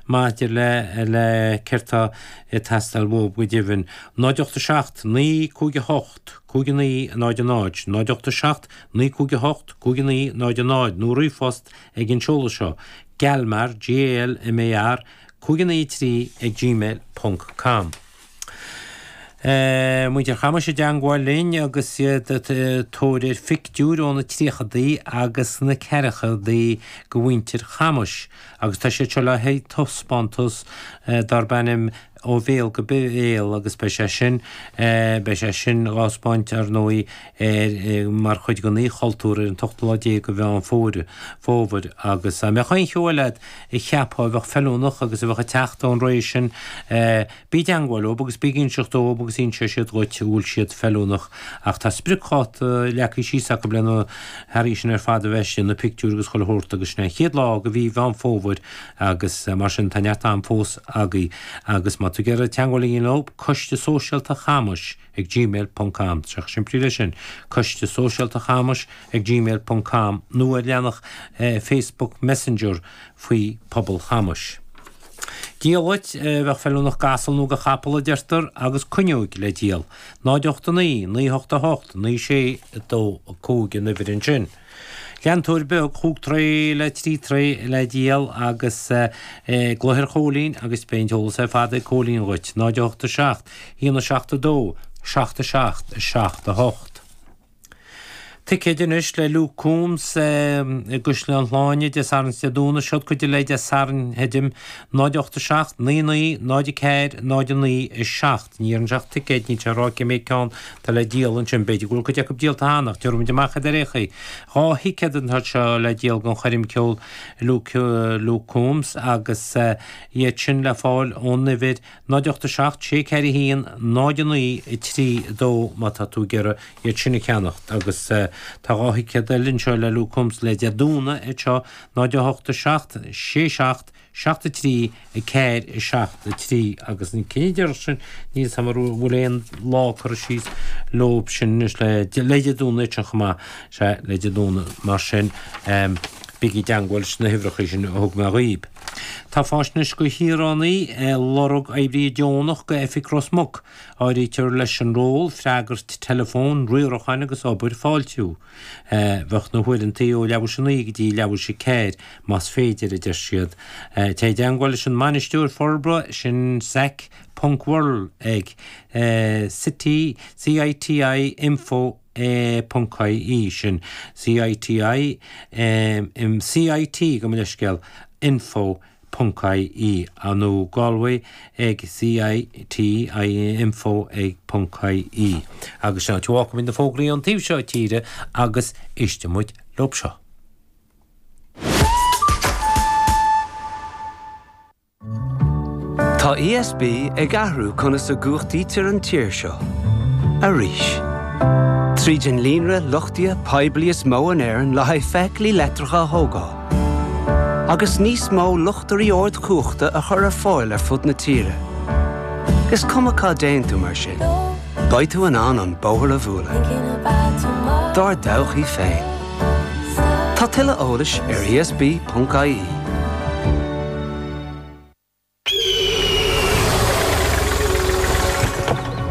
maidir le le céard tá ag teastáil uathu go deimhin. 0 8 7 9 5 8 5 9 0 0, 0 8 7 9 5 8 5 9 0 0 nó ríomhphost ag an seoladh seo, galmar, G-A-L-M-A-R, 5 9 3 ag gmail ponc com. Muintir Chamais i dteangmháil linn agus iad ag tóir ar phictiúir ó na tríochadaí agus na ceathrachaidí de mhuintir Chamais agus tá siad seo le haghaidh taispeántas darb ainm Ó Bhéal go Béal agus beidh sé sin, beidh sé sin á thaispeáint ar ndóigh ar mar chuid den Oíche Chultúir ar an t-ochtú lá déag de Mheán Fómhair Fómhair agus dá mbeadh aon cheo eile agat a cheapfá a bheadh feiliúnach agus a bheadh ag teacht ón ré sin bí i dteangmháil leob agus bí ag inseacht dóibh agus inseoidh siad dhuit an bhfuil siad feiliúnach ach tá spriocdháta leagtha síos acu le na hearraí sin ar fad a bheith istigh, na pictiúir agus chuile shórt agus sin é an chéad lá de mhí Mheán Fómhair agus mar sin tá neart am fós agaibh agus má tá tú ag iarraidh teangmháil a dhéanamh leob, Coiste Sóisialta Chamais ag gmail ponc com, tá sé chomh simplí leis sin, Coiste Sóisialta Chamais ag gmail ponc com nó ar leathanach Facebook Messenger faoi Pobal Chamais. Diallait a bheadh feiliúnach d'asal nó do chapall a deirtear agus cuinneoig le díol. 0 8 9 9 8 8 9 6 2 5 an uimhir ansin. Leantóir beag chúig troigh le trí troigh le díol agus glaoigh ar Chóilín agus beidh an t-eolas ar fad ag Cóilín dhuit. 0 8 7 1 7 2 7 7 7 8. Ticéid anois le Luke Combs i gCaisleán Shláine Dé Sathairn is Dé Domhnaigh. Seod cuid le Dé Sathairn theidim 0 8 7 9 9 0 4 0 9 7. Ní deireann sé ach ticéid, níl sé ag rá cé mhéad ceann atá le díol ansin. B'fhéidir go bhfuil cuid acu díolta cheana, ach tabharfaimid amach iad ar aon chaoi. 2 thicéad atá anseo le díol don choirm ceoil Luke Luke Combs agus iad sin le fáil ón uimhir 0 8 7 6 4 1 0 9 3 2 má tá tú ag iarraidh iad sin a cheannacht. Agus tá 2 thicéad eile anseo le Luke Combs le Dé Domhnaigh anseo 0 8 7 6 7 7 3 4 7 3 agus an cinneadh deireanach sin níl 'fhios a'm an bhfuil aon lá curtha síos leob sin anois le le Dé Domhnaigh sin chomh maith sea le Dé Domhnaigh mar sin bígí i dteangmháil leis na huimhreacha sin a thug mé dhaoib. Tá faisnéis do shaoránaigh ag lorg oibrithe deonach go Oifig Ros Muc. Áirítear leis an ról freagairt teileafóin, riaracháin agus obair fáiltiú. Bheadh na huaireantaí ó leathuair théis a 9 go dtí leathuair théis a 4, más féidir, a deir siad. Téigh i dteangmháil leis an mbainisteoir forbartha, sin Zach ponc Worrell ag citi, C-I-T-I info ponc I-E, sin C-I-T-I, C-I-T, gabh mo leithscéal, info ponc ie nó Galway ag CITI info ag ponc ie. Agus sin áit a bhfágfaimid na fógraí ón taobh seo tíre agus éistfidh muid leob seo. Tá ESB ag athrú conas a gcumhachtaítear an tír seo. Arís. Tríd an líonra luchtaithe poiblí is mó in Éirinn le haghaidh feithiclí leictreacha a thógáil. Agus níos mó luchtairí ardchumhachta a chur ar fáil ar fud na tíre. Is cuma cá dtéann tú mar sin, beidh tú in ann an bóthar a bhualadh. Dár dtodhchaí féin. Tá tuilleadh eolais ar esb.ie.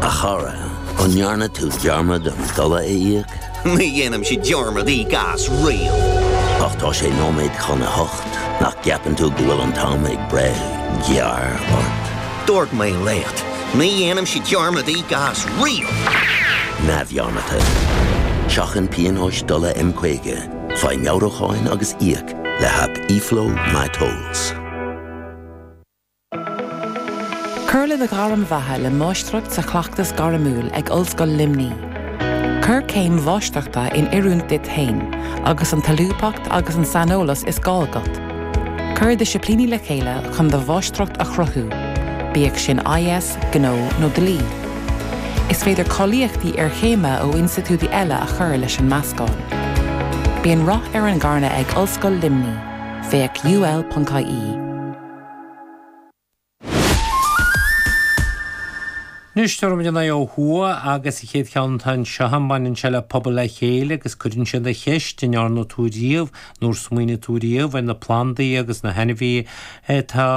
A chara, an ndearna tú dearmad an dola a íoc? Ní dhéanaimse dearmad íoc as riamh. Ach tá sé nóiméad chun a hocht, nach gceapann tú go bhfuil an t-am ag breith gearr ort? Dúirt mé leat, ní dhéanaimse dearmad íoc as riamh! Neamhdhearmadta. Seachain pionóis dola M50, faigh meabhrúcháin agus íoc le haip eFlow MyTolls. Cuir le do ghairm bheatha le Máistreacht sa Chleachtas Gairmiúil ag Ollscoil Luimnigh. Cuir céim mháistreachta in oiriúint duit féin agus an tsolúbthacht agus an saineolas is gá agat. Cuir disciplíní le chéile chun do mháistreacht a chruthú, bíodh sin IS, Gnó nó Dlí. Is féidir cáilíochtaí iarchéime ó institiúidí eile a chur leis an meascán. Bíonn rath ar an gcarnadh ag Ollscoil Luimnigh. Féach ul.ie. Anois tabharfaimid ár n-aghaidh ó thuaidh agus an chéad cheann atá anseo agam baineann sé le Pobal le Chéile agus cuireann siad an cheist an ndearna tú riamh nó ar smaoinigh tú riamh ar na plandaí agus na hainmhithe atá.